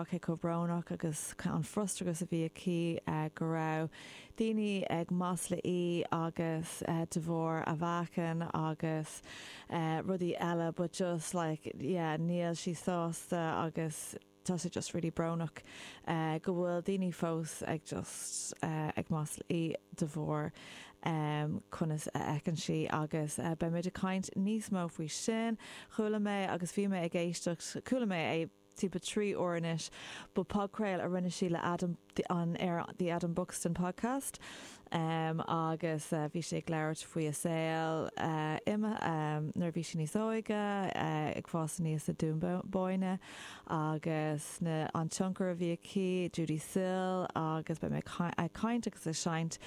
rá cé chomh brónach agus an frustrachas a bhí aici go raibh daoine ag maslú í agus de bharr a mheáchain agus rudaí eile but just like yeah níl sí sásta agus tá sé just really brónach go bhfuil daoine fós ag just ag maslú í de bharr conas a fheiceann sí agus beidh muid ag caint níos mó faoi sin. Chuala mé agus bhí mé ag éisteacht, chuala mé é timpeall 3 uair anois, but podchraoladh a rinne sí le Adam an ar The Adam Buxton Podcast agus bhí sí ag labhairt faoi a saol nuair a bhí sí níos óige, ag fás aníos i Dún Bóinne agus na an tionchar a bhí aici, Judee Sill agus beidh mé ag caint agus ag seinnt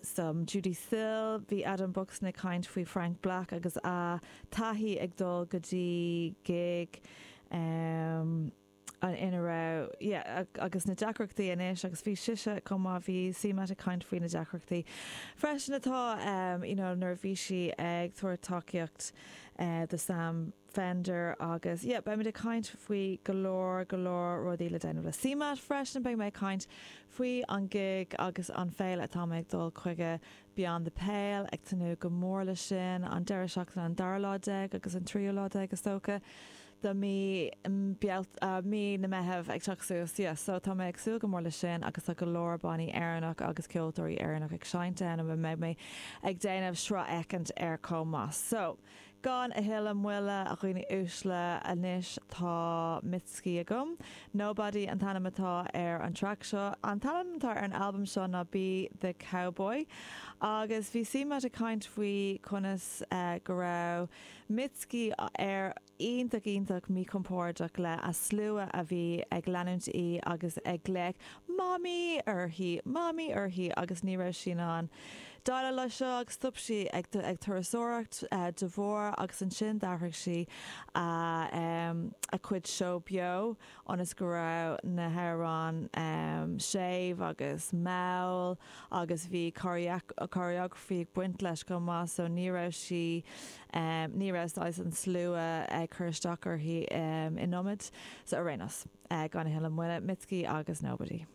some Judee Sill. Bhí Adam Buxton ag caint faoi Frank Black agus a taithí ag dul go dtí gig. ina raibh, yeah, agus na deacrachtaí anois agus bhí sise chomh maith, bhí CMAT ag caint faoi na deacrachtaí freisin atá, you know, nuair a bhí sí ag tabhairt tacaíocht do Sam Fender agus, yeah, beimid ag caint faoi go leor, go leor rudaí le déanamh le CMAT freisin, beidh mé ag caint faoi an gig agus an féile atá mé ag dul chuige Beyond the Pale, ag tnúth go mór leis sin, an deireadh seachtaine an dara lá déag agus an tríú lá déag is dócha. de mí mí na Meitheamh ag teacht suas yeah so tá mé ag súil go mór leis sin agus tá go leor bannaí Éireannach agus ceoltóirí Éireannach ag seinnt ann a mbeidh mé ag déanamh sraith éicint air chomh maith. So, gan a thuilleadh moille, a dhaoine uaisle, anois tá Mitski agam. Nobody an t-ainm atá ar an traic seo. An t-ainm atá ar an albam seo ná Be The Cowboy agus bhí CMAT ag caint faoi conas go raibh Mitski ar iontach iontach míchompordach le a slua a bhí ag leanúint í agus ag glaoch 'Mamaí' uirthi, 'Mamaí' uirthi agus ní raibh sí in ann déileáil leis seo agus stop sí ag ag turasóireacht de bharr agus ansin d'athraigh sí a a cuid seó beo ionas go raibh na hamhráin séimh agus mall agus bhí choreography ag baint leis chomh maith so ní raibh sí ní raibh saghas an slua ag cur isteach uirthi in iomad. So ar aon nós, gan a thuilleadh moille, Mitski agus Nobody.